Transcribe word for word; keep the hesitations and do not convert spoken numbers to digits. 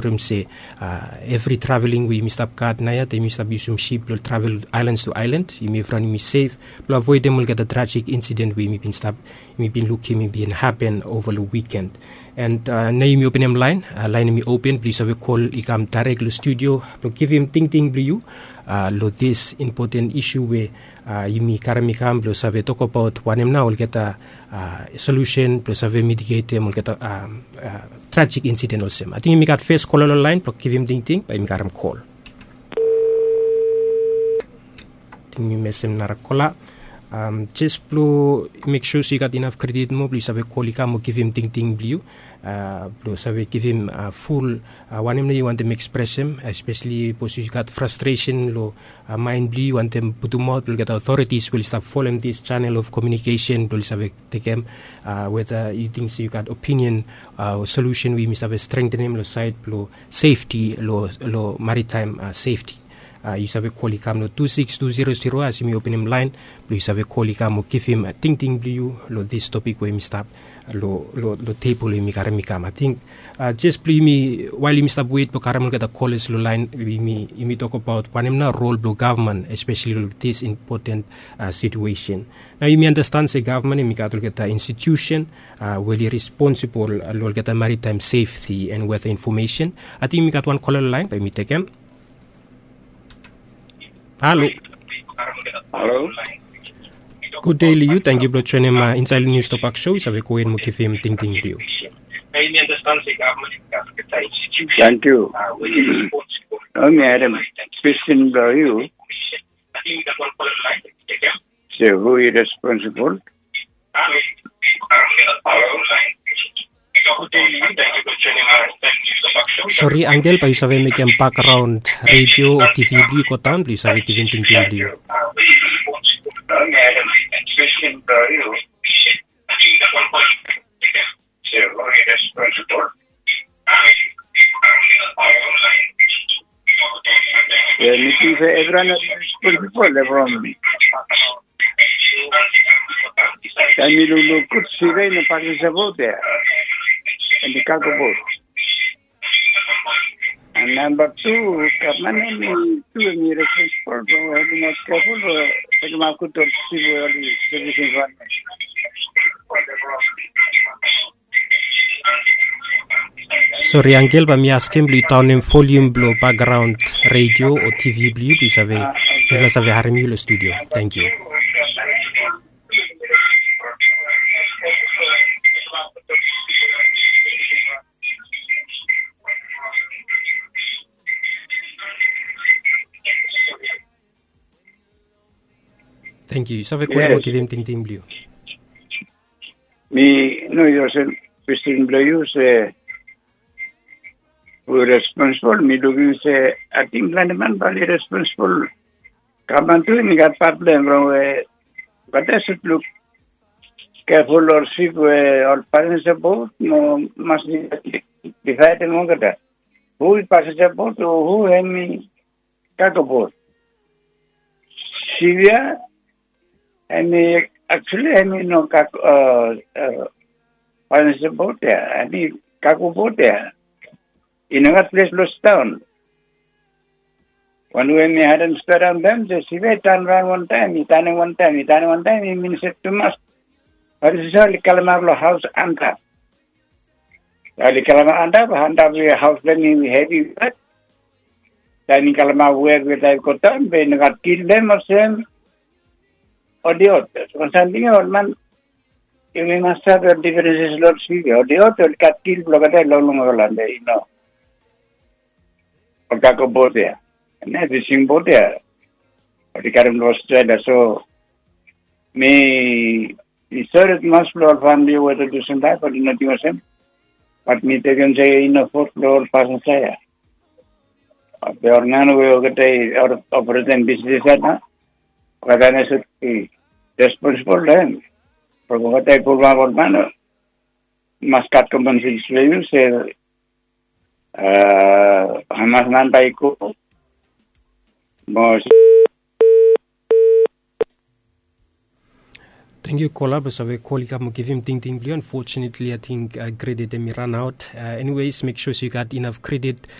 from se evri traveling we yumi stap gat naoia, yumi stap yusum sip blong travel islands to island, yumi evriwan yumi sef blong avoidem olgeta tragic incident we yumi bin stap, yumi bin lukim i bin hapen ova long wikend. And nao yumi openem lain, lain yumi open blong yu save kol i kam dairek long studio blong givim tingting blong yu long this important issue we yumi karim i kam blong save tokbaot wanem nao olgeta solution blong save mitigetem olgeta tragic incident olsem. Ating yumi gat fes kola long lain blong givim tingting, bae yumi karim kol. Ting mi mesem nara kola. Jes blong mek sua se yu gat inaf kredit moa blong yu save kol i kam mo givim tingting blong yu, blong save givim ful wanem nao yu wantem ekspresem, espeseli sapos yu gat frastresen long maen blong yu, yu wantem putumaot blong olgeta otoritis we oli stap folem this channel of komiunikesen blong oli save tekem, weta yu ting se yu gat opinion o solusen we yumi save strengtenem long saed blong sefti, long maritaem sefti. Yu save kol i kam long tu siks tu zero zero as yumi openem laen blong yu save kol i kam mo givim tingting blong yu long this topik we yumi stap long tebol we yumi karim i kam. Ating jes blong yumi, wael yumi stap wet blong karim olgeta kolas long laen, yumi tokbaot wanem nao rol blong gavman, espeseli long this important situation. Nao yumi andastan se gavman yumi gat olgeta institusen we oli responsibol long olgeta maritaem sefti and weta infomesen. Ating yumi gat wan kola long laen, bae yumi tekem. Halo. Halo. Gud dei long yu, tangkiu blong joenem insaed long Nius Tokbak Show, yu save gohed mo givim tingting blong yu. Tangkiu. Nao mi harem kwestin blong yu. Se hu i responsibol? Sori angel, bae yu save mekem bakgraon redio o tivi blong yu i godaon blong yu save givim tingting blong yu. Yu ting se evriwan i responsibol from taem mi lukluk gud, sive i no pasin sapot ya. Em i kago bot. And namba tu, gavman em i tu em i responsibol blong helpim aot keful blong tekemaot gud ol sip we oli sevisim faem. Sori angel, bae mi askem blong yu daonem volium blong bakgraon redio o tivi blong yu blong yu save, mifala save harem yu long studio. Tangkiu. Tangkiu. Yu save go hed mo givim tingting blong yu. Mi no, yu olsem kwestin blong yu se hu i responsibol, mi lukim se ating plante man bae oli responsibol. Gavman tu i gat pat blong hem, from we olgeta sud luk keful ol sip we ol pasinja bot no mas divaedem olgeta. Hu i pasinja bot o hu hem i kago bot? Sip ya hem i, actually hem i no kago, pasinja bot ya, hem i kago bot ya. I no gat ples blong sidaon. Wan we mi harem stori long hem se sip ya i tanraon wantaem, i tanem wantaem, i tanem wantaem, i minim se tumas. Bat i save oli kalem ap long haos antap. Oli kalem ap antap, antap we haos blong hem i hevi wet. Taem i kalem ap wet we taem i godaon be i no gat kil blong hem olsem. Ol idiot. Wan samting ya ol man yumi mas save ol difrenses long ol sip ya. Ol idiot oli gat kil blong olgeta i longlong olgeta i no. Ol kago bot ya, ne fising bot ya, oli karem long Australia. So mi, mi sori tumas blong ol famili we oli lusum laef, oli no ting olsem. Bat mi tekem se i no fot blong ol pasinja ya. Be ol man we olgeta i operetem bisnis ya nao, olgeta nao sud i responsibol long hem. From olgeta i pulapim ol man, mas gat kompensesen blong yu se hamas man bae i go mo Thank you kola basa we kol i kam o givim tingting blong yu. Unfortunately I think uh, credit em i run out. Uh, anyways, make sure so you got enough credit